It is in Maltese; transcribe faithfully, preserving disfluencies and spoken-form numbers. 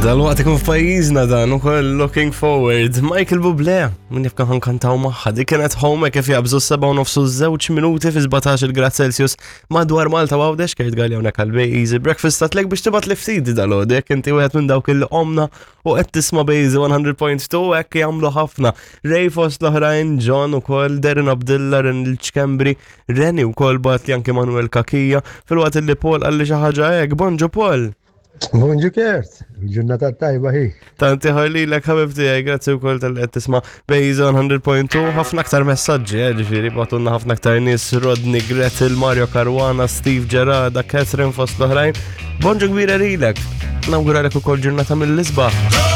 Dal-waqt ikun f'pajjiżna dan ukoll looking forward. Michael Bublé, min jaf kan kantaw magħha. Dik kienet Home kif jabżu seba' u nofsu żewġ minuti fi sbatax il-grad Celsius madwar Malta u Għawdex. Kurt Galea hawnhekk għal Bejżi Breakfast tatlek biex tibgħat li ftit dal-għodu jekk inti wieħed minn dawk il omna u qed tisma' Bejżi mija punt tnejn, hekk jagħmlu ħafna. Ray fost l-oħrajn, John ukoll, Darren Abdilla, Ren il-Ċkembri, Reni wkoll bat li anke Manuel Kakija, filwaqt li Paul qalli xi ħaġa hekk. Bonġu, Paul. Bonġu, Kurt, ġurnata tajba hi. Tanti ħarli l ħabib tiegħi, grazzi wkoll talli qed tisma' Bejza mija punt tnejn. Ħafna aktar messaġġi, eh, ġifieri bagħtulna ħafna aktar nies: Rodney, Gretel, Mario Caruana, Steve Gerada, Catherine fost l-oħrajn. Bonġu kbira lilek. Nawguralek ukoll ġurnata mill-isbaħ.